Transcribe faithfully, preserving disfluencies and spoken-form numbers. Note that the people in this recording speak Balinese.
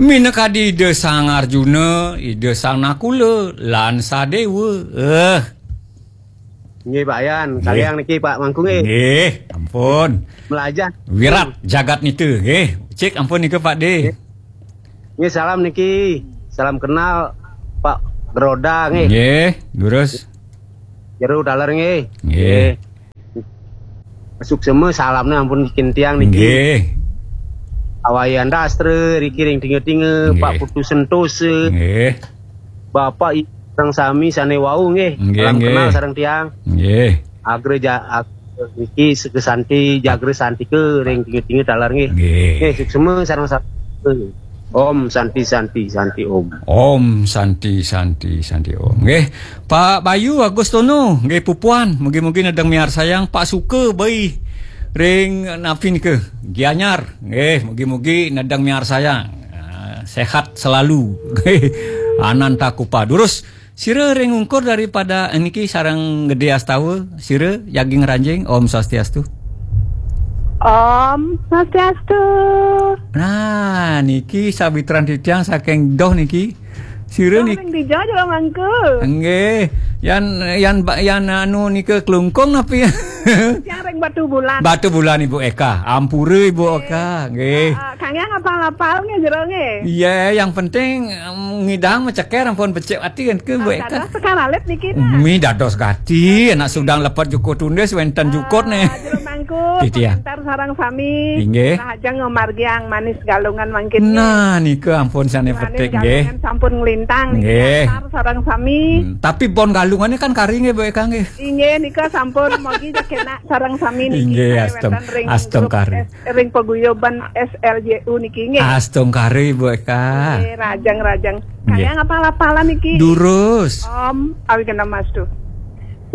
Minakadi Ida Sang Arjuna, Ida Sang Nakula, lan Sadewa. Eh. Nggih, Pak Yan. Nggih. Kalian niki, Pak Mangku, nggih. Nggih, ampun. Melajah. Wirat jagat nita, nggih. Cik, ampun nika, Pak De. Nggih. Nggih, salam niki. Salam kenal, Pak Geroda, nggih. Nggih, durus. Jero taler, nggih. Nggih. Nggih. Suksema salamnya ampun kintiang niki. Nggih. Awayan Dastra, riki ring tinga-tinga, Nggih. Pak Putu Sentosa. Nggih. Bapak I-, sareng sami sane wau, nggih. Nggih, Salam nggih. Kenal sareng tiang. Nggih. Agra ja-, ag-, niki Seka Santi, Jagra Santika, ring tinga-tinga taler, nggih. Nggih. Nggih, suksema sareng sami. Om Santi, Santi, Santi, Om. Om Santi, Santi, Santi, Om. Nggih, Pak Bayu Agustono, nggih, pupuan, mugi-mugi nedeng miarsayang. Pak Suka Bai ring napi nika, Gianyar, nggih, mugi-mugi nedeng miarsayang. Ah, sehat selalu. Ananta Kupa. Durus, sira ring ungkur daripada niki sareng Gede Astawa, sira jagi ngranjing. Om Swastiastu. Om Swastiastu. Nah, niki sawitran titiang saking Doh niki. Sira Doh niki ring dija, Jero Mangku? Nggih. Yan, yan, ba-, yan anu nika Klungkung napi? Yang ring Batu Bulan. Batu Bulan, Ibu Eka. Ampura, Ibu Eka. Nggih. Ah, ah, kang yang apal-apal nggih, Jero nggih? Iya, yang penting, em, ngidang meceker ampun becik ati kan ke, Bu Ah, Eka? Dados tekan alit niki, nah. Mi dados gati, anak sudang lepet jukut tundis, wenten jukut nih. Ah, Jero Mangku, Titiang. Pengantar sareng sami. Inggih. Rahajeng ngamargiang manis Galungan mangkin, nggih. Nah, nika ampun sane Manis petik, nggih. Galungan sampun nglintang niki. Nggih. Antar sareng sami. Hmm, tapi bon Galungane kan kari nggih, Bu Eka, nggih. Inggih, nika sampun mogi jekenak sareng sami niki. Inggih, kaya astung, wenten ring astung grup kari. S-, ring paguyuban S L J U niki, nggih. Astung kari, Bu Eka. Nggih, rajang-rajang. Nggih. Kaya ngapal-apalan niki? Durus. Om Awighnamastu.